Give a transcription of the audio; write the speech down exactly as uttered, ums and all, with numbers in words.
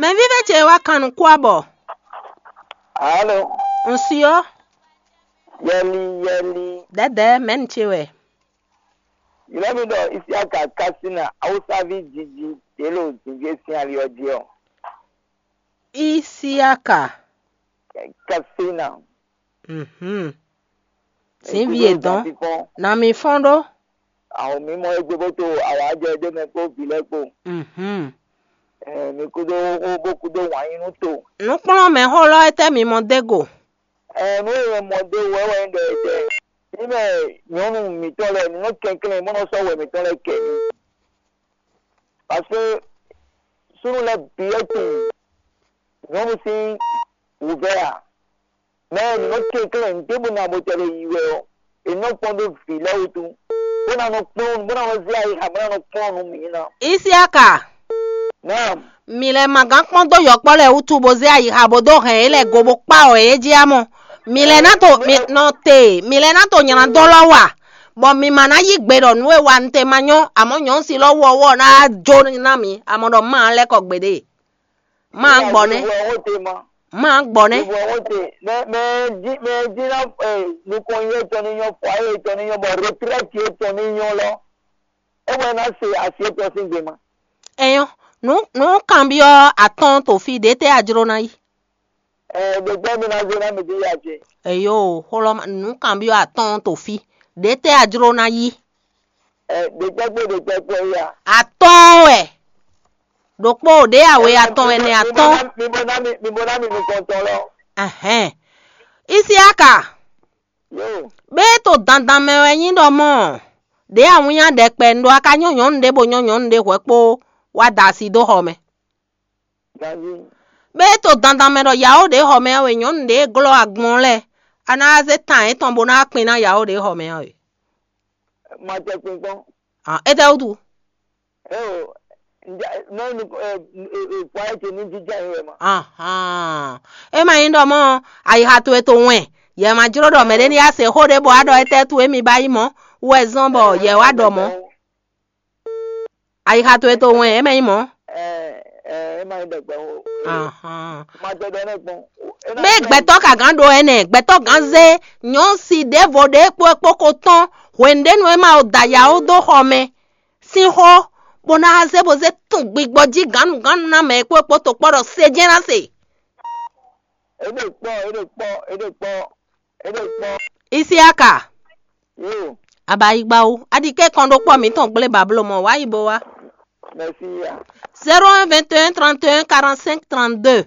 Mɛvívɛ́ ce wá kan nukún abɔ. Alo, un si ɔ́, yɛli yɛli. Dɛ̌dɛ̌ mɛ̌nu ce wɛ. Ylɔ́ mì ɖɔ Isiaka Kasina, Awusaví jiji ɖě ɖo zǐngé sín ali ɔ́ jí ɔ́. Isiaka. Kasina. Mhm. Sín ví e dɔn. Na mi fɔ́n ɖó. Àwọn mímọ́ égbé bó to awǎjɛ ɖé mɛ kpó vǐ lɛ́ɛ kpó. Mhm. Ɛ, mi kúdó xó bó kúdó wǎn yí nú to. Nǔkplɔ́nmɛxó lɔ étɛ́ mi mɔ dó go? Ɛ, nú e mɔ dó wɛ wɛ ɖɔ ɛtɛ. Ní mɛ nyɔ̌nu mǐtɔn lɛ́ɛ ní nɔ kɛnklɛ́n bó nɔ sɔ́ wɛ mǐtɔn lɛ́ɛ kɛ. Parce que súnnu lɛ́ɛ bǐ wɛ tunwun nyɔ̌nu sín wǔvɛ́ ǎ. Mɛ e nǐ nɔ kɛnklɛ́n ɖěbǔ ná bó tɛ́ lɛ́ yi wɛ ɔ́, è nɔ kpɔ́n ɖó vǐ lɛ́ɛ wútu, bó ná nɔ kplɔ́n, bó ná nɔ zé ayixa, bó ná nɔ kplɔ́n nú mǐ ná. Isiaka, Naam, mi lɛ́ ma gán kpɔ́n dó yɔkpɔ́ lɛ́ɛ wútu bó zé ayixa bó dó hɛn yě lɛ́ go bó kpá wɔ yě jí á mɔ. Mi lɛ́ ná to mi nɔ te, mi lɛ́ ná to nylá dó lɔ wa, bɔ mi ma ná yí gbe ɖɔ nǔ e wa un te ma nyɔ́, amɔ̌ nyɔ̌nu si lɔ wú ɔ́ wɔ ná jó ná mǐ, amɔ ɖɔ má lɛ́ kɔ gbeɖé. Má gbɔ nɛ́. Má gbɔ nɛ́. Mɛ mɛ jí mɛ jí ná nukɔn yɛ tɔn ní nyɔ́, fɔ ayé tɔn ní nyɔ́, bɔ retraite yɛ tɔn ní nyɔ́ lɔ, é wɛ ná se asi étɔn sín gbe ma. Ɛyɔ́, nǔ nǔ kanbyɔ́ atɔ́ɔ́n to fí ɖě tɛ́ a jló ná yi? Ɛ ɖegbɛ mi ná zé ná mi dí ya ce. Eyo, xlɔ́ nǔ kanbyɔ́ atɔ́ɔ́n to fí ɖě tɛ́ a jló ná yi? Ɛ ɖegbɛ kpó ɖegbɛ kpó ya. Atɔ́ɔ́n wɛ. Ɖokpó ɖě awe atɔn ɛnɛ atɔ́ɔ́n. Mi bo ná mi mi bo ná mi nukɔntɔn lɔ. Ɛhɛn. Isiaka, Yo, bé to dandan mɛ wɛ nyí ɖɔ mɔ ɖě awínnya ɖɛkpɛ un ɖó a ka nyɔ́ nyɔ̌nu ɖé bó nyɔ́ nyɔ̌nu ɖé hwɛ̌ kpó wá da asi dó xɔ mɛ. Ganji, Bé to dandan mɛ ɖɔ yawó ɖě xɔ mɛ ɔ́ wɛ nyɔ̌nu ɖě glɔ́ agbɔn lɛ́ɛ a ná zé tan yětɔn bó ná kpin ná yawó ɖě xɔ mɛ ɔ́ wɛ. Ma tɛ kpin kpɔ́n. Hàn, étɛ́ wútu? Eo, nɔ nu fɔ ayé ce ní jija yín wɛ ma. Ahàn. É ma nyí ɖɔ mɔ ayixa towe to wɛn, yɛ ma jló ɖɔ mɛɖé ní yá se xó ɖé bɔ wá ɖɔ étɛ́ towe mi ba yí mɔ̌ wɛ zɔ́n bɔ yɛ wá ɖɔ mɔ̌. Ayixa towe to wɛn, é ma nyí mɔ̌. Ɛ ɛ é ma nyí ɖɛgbɛ o. Ahàn. Ma tɛ ɖɔ nɛ kpɔn. Bé gbɛtɔ́ ka gán ɖo ɛnɛ, gbɛtɔ́ gán zé nyɔ̌nu si ɖěvo ɖě kpó kpó ko tɔ́n hwenu ɖé nú é ma o da yawó dó xɔ mɛ sín xó, bó ná zé bó zé tun gbigbɔ jí gǎnnugǎnnu ná mɛ e kpó kpó tokpɔ́ ɖɔ se jɛ́n ná se. Éɖe kpɔ, éɖe kpɔ, éɖe kpɔ, éɖe kpɔ. Isiaka, Yo, abayigbawo, aɖike kɔn ɖó kpɔ mǐtɔn gblé bablo mɔ wá yi bo wá. Merci ya. Zéro un vingt et un trente et un quarante-cinq trente-deux.